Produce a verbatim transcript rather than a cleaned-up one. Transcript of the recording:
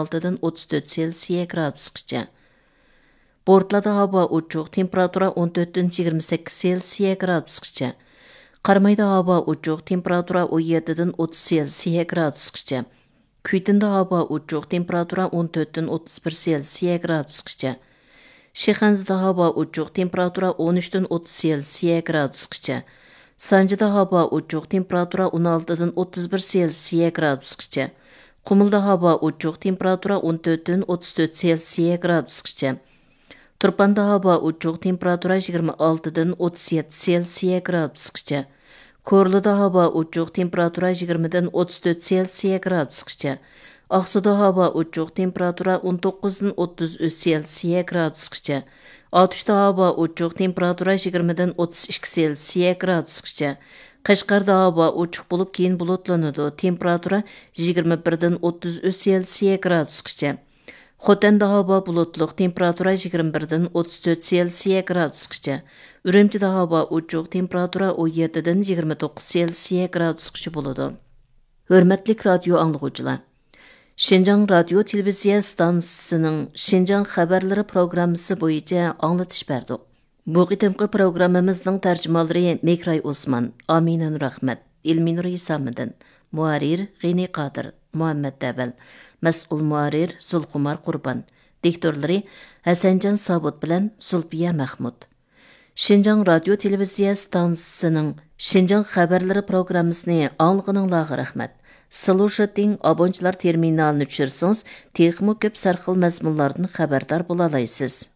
ئالتىدىن ئوتتۇز تۆت سېلسىيە گرادۇسقىچە. بورتلادا ھاۋا ئوچۇق، تېمپېراتۇرا ئون تۆتتىن يىگىرمە سەككىز سېلسىيە گرادۇسقىچە. قارامايدا ھاۋا ئوچۇق، تېمپېراتۇرا ئون يەتتىدىن ئوتتۇز سېلسىيە گرادۇسقىچە. كۈيتىندە ھاۋا ئوچۇق، تېمپېراتۇرا ئون تۆتتىن ئوتتۇز بىر سېلسىيە گرادۇسقىچە. شىخەنزىدە ھاۋا ئوچۇق، تېمپېراتۇرا ئون ئۈچتىن ئوتتۇز سېلسىيە گرادۇسقىچە. سانجىدا ھاۋا ئوچۇق، تېمپېراتۇرا ئون ئالتىدىن ئوتتۇز بىر سېلسىيە گرادۇسقىچە. قۇمۇلدا ھاۋا ئوچۇق، تېمپېراتۇرا ئون تۆتتىن ئوتتۇز تۆت سېلسىيە گرادۇسقىچە. تۇرپاندا ھاۋا ئوچۇق، تېمپېراتۇرا يىگىرمە ئالتىدىن ئوتتۇز يەتتە سېلسىيە گرادۇسقىچە. كورلىدا ھاۋا ئوچۇق، تېمپېراتۇرا يىگىرمىدىن ئوتتۇز تۆت سېلسىيە گرادۇسقىچە. ئاقسۇدا ھاۋا ئوچۇق، تېمپېراتۇرا ئون توققۇزدىن ئوتتۇز ئۈچ سېلسىيە گرادۇسقىچە. ئاتۇشتا ھاۋا ئوچۇق، تېمپېراتۇرا يىگىرمىدىن ئوتتۇز ئىككى سېلسىيە گرادۇسقىچە. قەشقەردە ھاۋا ئوچۇق بولۇپ، كېيىن بۇلۇتلىنىدۇ، تېمپېراتۇرا يىگىرمە بىردىن ئوتتۇز ئۈچ سېلسىيە گرادۇسقىچە. خوتەندە ھاۋا بۇلۇتلۇق، تېمپېراتۇرا يىگىرمە بىردىن ئوتتۇز تۆت سېلسىيە گرادۇسقىچە. ئۈرۈمچىدە ھاۋا ئوچۇق، تېمپېراتۇرا ئون يەتتىدىن يىگىرمە توققۇز سېلسىيە گرادۇسقىچە بولىدۇ. ھۆرمەتلىك رادىيو ئاڭلىغۇچىلار! شىنجاڭ رادىيو تېلېۋىزىيە ئىستانسىسىنىڭ شىنجاڭ خەۋەرلىرى پروگراممىسى بويىچە ئاڭلىتىش بەردۇق. بۇ قېتىمقى پروگراممىمىزنىڭ تەرجىمانلىرى مېھراي ئوسمان، ئامىنە نۇرئەخمەت، ئىلمىنۇر ھېسامىدىن، مۇھەررىر غېنى قادىر، مۇھەممەت دەۋەل، مەسئۇل مۇھەررىر زۇلخۇمار قۇربان، دىكتورلىرى ھەسەنجان ساۋۇت بىلەن زۇلپىيە مەخمۇت. شىنجاڭ رادىيو تېلېۋىزىيە ئىستانسىسىنىڭ شىنجاڭ خەۋەرلىرى پروگراممىسىنى ئاڭلىغىنىڭلارغا رەھمەت. سلۇشىتىڭ ئابونچىلار تېرمىنالىنى چۈشۈرسىڭىز، تېخىمۇ كۆپ سەرخىل مەزمۇنلاردىن خەۋەردار بولالايسىز.